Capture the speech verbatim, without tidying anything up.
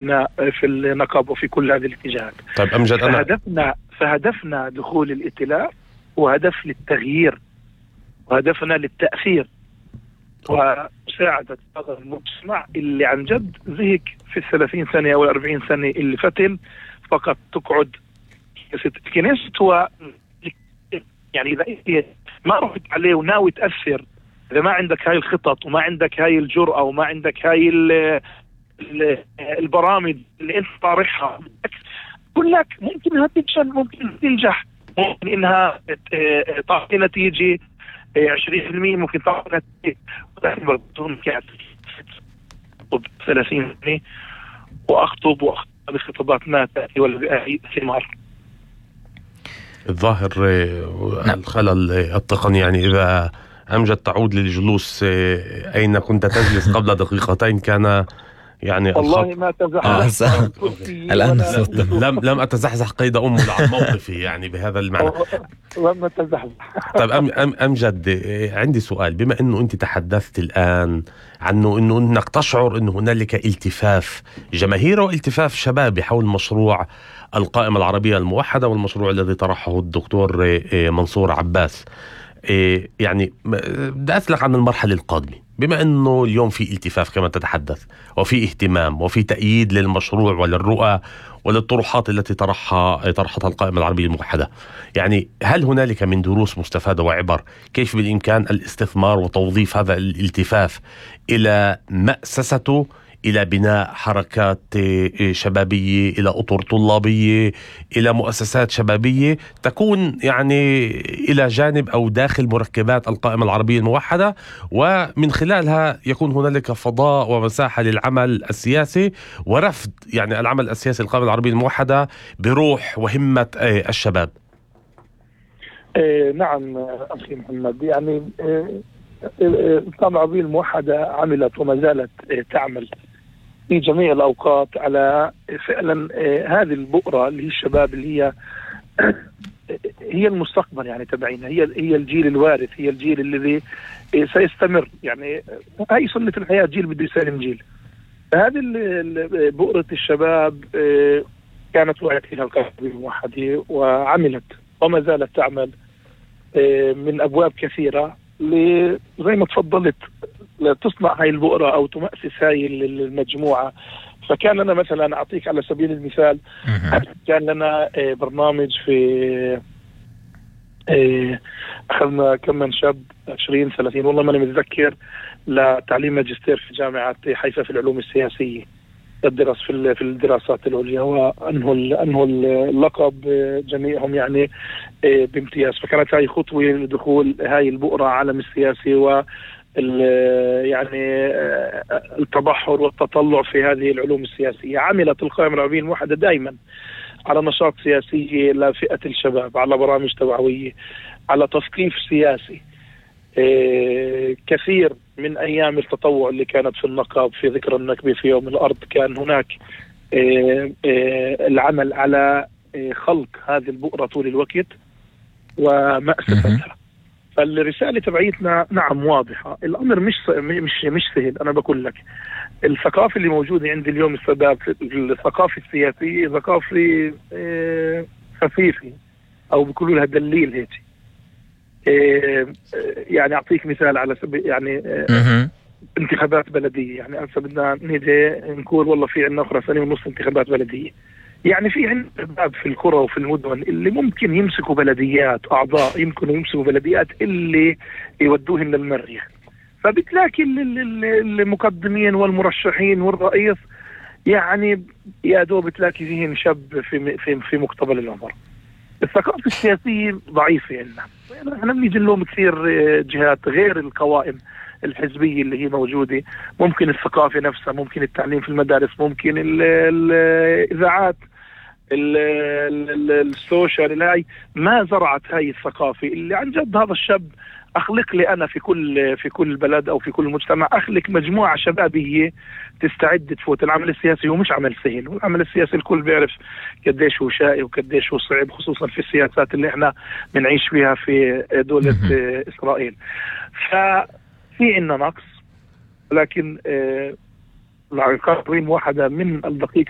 في النقابة وفي كل هذه الاتجاهات. طيب أمجد، أنا فهدفنا فهدفنا دخول الائتلاف هو هدف للتغيير وهدفنا للتأثير ومساعدة هذا المجتمع اللي عن جد زهق في الثلاثين سنة أو الأربعين سنة اللي فتن فقط تقعد كنيسة. هو يعني إذا أنت ما رحت عليه وناوي تأثر، إذا ما عندك هاي الخطط وما عندك هاي الجرأة وما عندك هاي البرامج اللي أنت طارحها، بقول لك ممكن إنها تفشل، ممكن تنجح، ممكن إنها تعطي نتيجة عشرين بالمئة، ممكن تعطي نتيجة ثلاثين سنة وأخطب وأخطب بخطبات ما تأتي ولا بأي ثمار. الظاهر الخلل التقني. يعني إذا أمجد تعود للجلوس أين كنت تجلس قبل دقيقتين كان يعني والله ما تزحزح آه الآن لم لم أتزحزح قيد أمه عن موقفي يعني بهذا المعنى. لم أتزحزح. طيب أم أم أمجد، عندي سؤال. بما أنه أنت تحدثت الآن عنه أنه أنك تشعر أنه هنالك التفاف جماهيري والتفاف شبابي حول مشروع القائمة العربية الموحدة والمشروع الذي طرحه الدكتور منصور عباس، يعني بدي أسألك عن المرحلة القادمة. بما أنه اليوم في التفاف كما تتحدث وفي اهتمام وفي تأييد للمشروع وللرؤى وللطروحات التي طرحها طرحتها القائمة العربية الموحدة، يعني هل هنالك من دروس مستفادة وعبر كيف بالإمكان الاستثمار وتوظيف هذا الالتفاف إلى مأسسته، إلى بناء حركات شبابية، إلى أطر طلابية، إلى مؤسسات شبابية تكون يعني إلى جانب أو داخل مركبات القائمة العربية الموحدة، ومن خلالها يكون هنالك فضاء ومساحة للعمل السياسي ورفض يعني العمل السياسي القائمة العربية الموحدة بروح وهمة الشباب؟ إيه نعم أخي محمد، يعني القائمة العربية الموحدة عملت وما زالت تعمل في جميع الأوقات على فعلا هذه البؤرة اللي هي الشباب، اللي هي هي المستقبل يعني تبعينا، هي هي الجيل الوارث، هي الجيل الذي سيستمر. يعني هاي سنة الحياة، جيل بده يسلم جيل. هذه بؤرة الشباب كانت وعد فيها القائمة الموحدة وعملت وما زالت تعمل من أبواب كثيرة زي ما تفضلت تصنع هاي البؤرة أو تمأسس هاي المجموعة. فكان لنا مثلا أعطيك على سبيل المثال، كان لنا برنامج في أخذنا كم من شاب عشرين ثلاثين والله ما أنا متذكر لتعليم ماجستير في جامعة حيفا في العلوم السياسية، الدرس في في الدراسات العليا، وأنهوا أنهوا اللقب جميعهم يعني بامتياز. فكانت هاي خطوة لدخول هاي البؤرة عالم السياسي و يعني التبحر والتطلع في هذه العلوم السياسية. عملت القائمة العربية الموحدة دائما على نشاط سياسي لفئة الشباب، على برامج توعوية، على تثقيف سياسي. كثير من أيام التطوع اللي كانت في النقاب في ذكرى النكبة في يوم الأرض كان هناك العمل على خلق هذه البؤرة طول الوقت ومأسستها. فالرسالة تبعيتنا نعم واضحة. الأمر مش مش مش سهل. أنا بقول لك الثقافة اللي موجودة عند اليوم الشباب، الثقافة السياسية ثقافة خفيفة أو بيقولوا لها دليل هيك. يعني أعطيك مثال على سبيل يعني انتخابات بلدية. يعني هسه بدنا نيجي نقول والله في عندنا أخرى سنة ونص انتخابات بلدية. يعني في عندنا شباب في القرى وفي المدن اللي ممكن يمسكوا بلديات، أعضاء يمكن يمسكوا بلديات اللي يودوهن للمريخ. فبتلاقي المقدمين والمرشحين والرئيس يعني يا دوب بتلاقي فيهم شاب في في في مقتبل العمر. الثقافة السياسية ضعيفة عندنا. يعني احنا بنيجي نلوم كثير جهات غير القوائم الحزبية اللي هي موجودة، ممكن الثقافة نفسها، ممكن التعليم في المدارس، ممكن الإذاعات، السوشيال، هاي ما زرعت هاي الثقافة اللي عن جد هذا الشاب أخلق لي أنا في كل في كل بلد أو في كل مجتمع، أخلق مجموعة شبابية تستعد تفوت. العمل السياسي هو مش عمل سهل، والعمل السياسي الكل بيعرف قديش هو شائك وقديش هو صعب، خصوصا في السياسات اللي احنا بنعيش فيها في دولة إسرائيل. ففي عنا نقص، لكن القائمة الموحدة من الدقيقة